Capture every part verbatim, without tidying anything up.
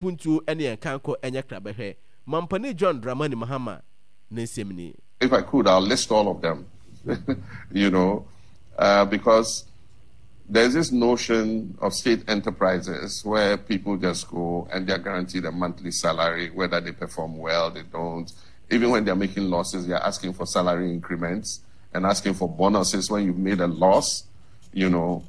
Mpuntuo ne yɛn kankɔ nyɛ krabɛhwɛ. Mampanin John Dramani Mahama ne nsɛm nie. If I could, I'll list all of them, you know, uh, because there's this notion of state enterprises where people just go and they're guaranteed a monthly salary, whether they perform well, they don't. Even when they're making losses, they're asking for salary increments and asking for bonuses when you've made a loss, you know.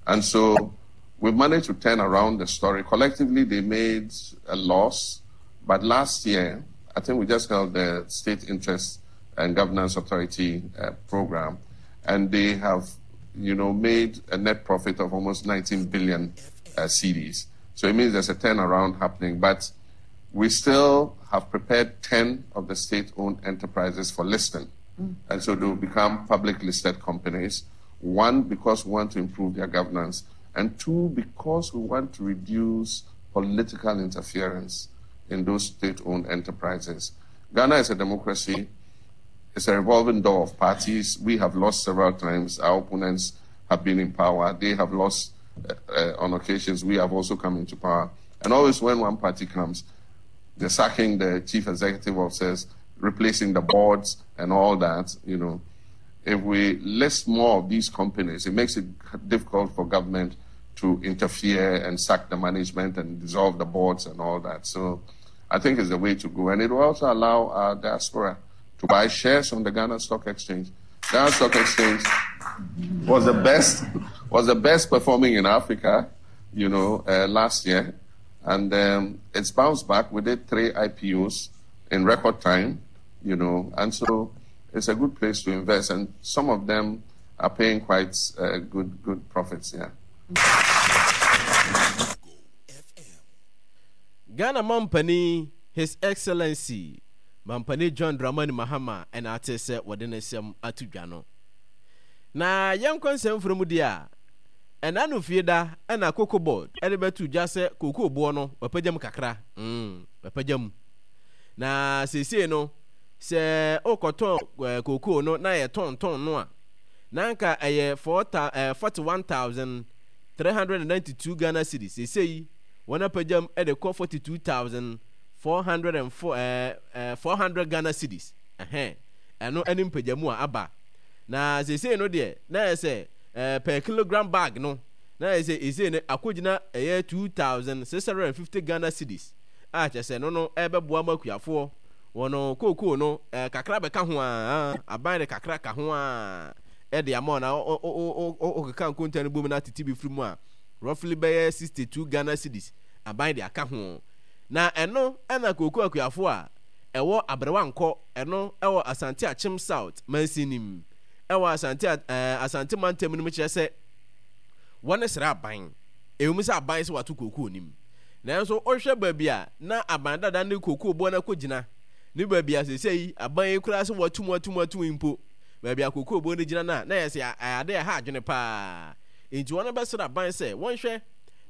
And so we've managed to turn around the story. Collectively, they made a loss. But last year, I think we just held the State Interest and Governance Authority uh, program, and they have, you know, made a net profit of almost nineteen billion, uh, cedis. So it means there's a turnaround happening. But we still have prepared ten of the state-owned enterprises for listing. Mm. And so they will become public listed companies. One, because we want to improve their governance. And two, because we want to reduce political interference in those state-owned enterprises. Ghana is a democracy. It's a revolving door of parties. We have lost several times. Our opponents have been in power. They have lost, uh, uh, on occasions. We have also come into power. And always when one party comes, they're sacking the chief executive officers, replacing the boards and all that, you know. If we list more of these companies, it makes it difficult for government to interfere and sack the management and dissolve the boards and all that. So I think it's the way to go. And it will also allow our diaspora to buy shares on the Ghana Stock Exchange. Ghana Stock Exchange was the best, was the best performing in Africa, you know, uh, last year. And, um, it's bounced back. We did three I P Os in record time, you know, and so it's a good place to invest. And some of them are paying quite, uh, good, good profits, yeah. Ghana Mampani, His Excellency Mampani John Dramani Mahama, and ate sɛ wɔde ne nsɛm ato dwa no. Na yɛnkɔ nsɛm foro mu deɛ a, ɛna no fie da ɛna Cocoa Board ɛde bɛto dwa sɛ cocoa boɔ no wɔapagya mu kakra. Mm, wɔapagya mu. Na seesei no, sɛ wokɔtɔn, eh, cocoa no na yɛtɔntɔn no a, na anka ɛyɛ four thou-, eh, forty-one thousand three hundred ninety-two Ghana cedis. Seesei wɔn apagya mu ɛde kɔ forty-two thousand four hundred and four, eh, eh, four hundred Ghana cedis. Ɛhɛn, ɛno ɛne mpagyamu a aba. Na seesei no deɛ, na ɛyɛ sɛ, eh, per kilogram bag no, na ɛyɛ sɛ seesei no akɔgyina ɛyɛ two thousand six hundred and fifty Ghana cedis. A kyerɛ sɛ no no ɛbɛboa ma akuafoɔ wɔn kookoo no, eh, kakra bɛka ho a, aban de kakra ka ho a, ɛde ama wɔn. Na o, o, o, o, o, okeka nkonta no bom na tete bi firi mu a, roughly bɛyɛ sixty-two Ghana cedis aban de aka ho. Na ɛno ɛna kookoo akuafoɔ a ɛwɔ Aberewankɔ, ɛno ɛwɔ Asante Akyem South mansinim, ɛwɔ Asante, eh, Asante mantam no mu kyerɛ sɛ wɔne srɛ aban. Ɛwom sɛ aban sɛ wato kookoo nim. Nanso wohwɛ baabi a na aban dada ne kookoo boɔ no akɔgyina, ne baabi a seesei aban yi koraa sɛ wɔatum, atum, atum mpo, baabi a kookoo boɔ no gyina no a, na ɛyɛ sɛ ɛyɛ ade a ɛha adwene paa. Enti wɔn bɛsrɛ aban sɛ wɔnhwɛ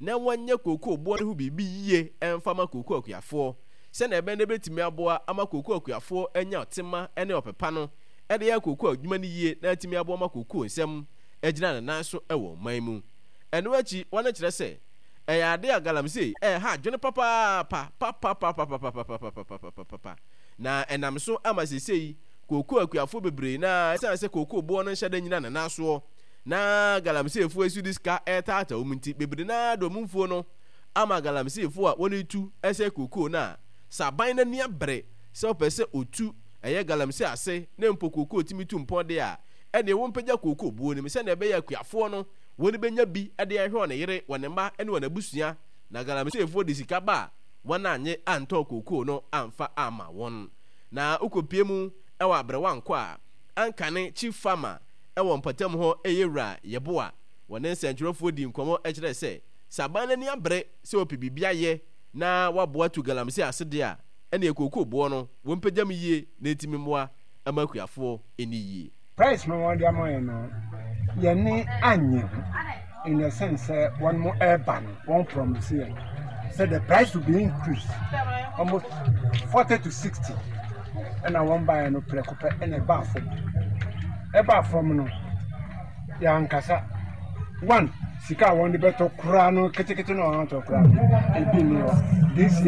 na wɔnyɛ kookoo boɔ no ho biribi yie ɛmfa ma kookoo akuafoɔ, sɛnea ɛbɛn no bɛtumi aboa ama kookoo akuafoɔ anya ɔtema ne ɔpepa no ɛde yɛ kookoo adwuma no yie na atumi aboa ma kookoo nsɛm agyina ne nan so wɔ ɔman mu. Ɛno akyi, wɔn kyerɛ sɛ ɛyɛ ade a galamsey ɛha adwene papaapa, papapapapapapapapapapapa. Na ɛnam so ama seesei kookoo akuafoɔ bebree na ɛsiane sɛ kookoo boɔ no nhyɛ da nyina ne nan soɔ na galamseyfoɔ esi de sika ɛretaataa wɔn nti, bebree naa de wɔn mfuo no ama galamseyfoɔ a wɔretu ɛsɛ kookoo no a, sɛ aban n'ani abere sɛ ɔpɛ sɛ otu ɛyɛ galamsey ase na mpo kookoo tumi tu mpɔn de a, ɛneɛ wɔmpagya kookoo buo no mu sɛnea ɛbɛyɛ akuafoɔ no wɔn bɛnya bi de ahwɛ wɔn yere, wɔn mma ne wɔn abusua. Na galamseyfoɔ de sika ba a, wɔn anye antɔn kookoo no amfa ama wɔn. Na wokɔpie mu ɛwɔ Aberewankɔ a, ankane chief farmer ɛwɔ mpɔtam hɔ ɛyɛ Wura Yeboah. Wɔne nsɛntwerɛfoɔ di nkɔmmɔ kyerɛ sɛ, sɛ aban n'ani abere sɛ ɔpɛ biribi ayɛ na waboa tu galamsey ase deɛ a, ɛneɛ kookoo boɔ no wɔmpagya mu yie na ɛtumi mmoa ama akuafoɔ ani yie. Price no wɔde ama yɛn no, yɛne anye ho in the sense sɛ wɔn mo ɛreba no, wɔn promise yɛn sɛ the price will be increased almost forty to sixty, ɛna wɔn baeɛ no prɛko pɛ ɛna ɛbaa fam. Ɛbaa fam no, yɛankasa. One, sika a wɔn de bɛtɔ koraa no ketekete na wɔn atɔ koraa no, ebi nni hɔ. This year.